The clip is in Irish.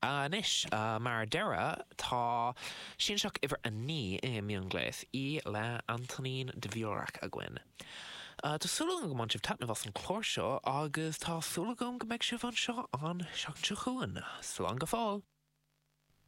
Anois, mar deireadh, tá Sianseach uimhir 9 i Mionghléas, í le Antonín Dvorak againn. Tá súil agam go mbain sibh taitneamh as an chlár seo agus tá súil agam go mbeidh sibh anseo an seachtain seo chugainn. Slán go fóill!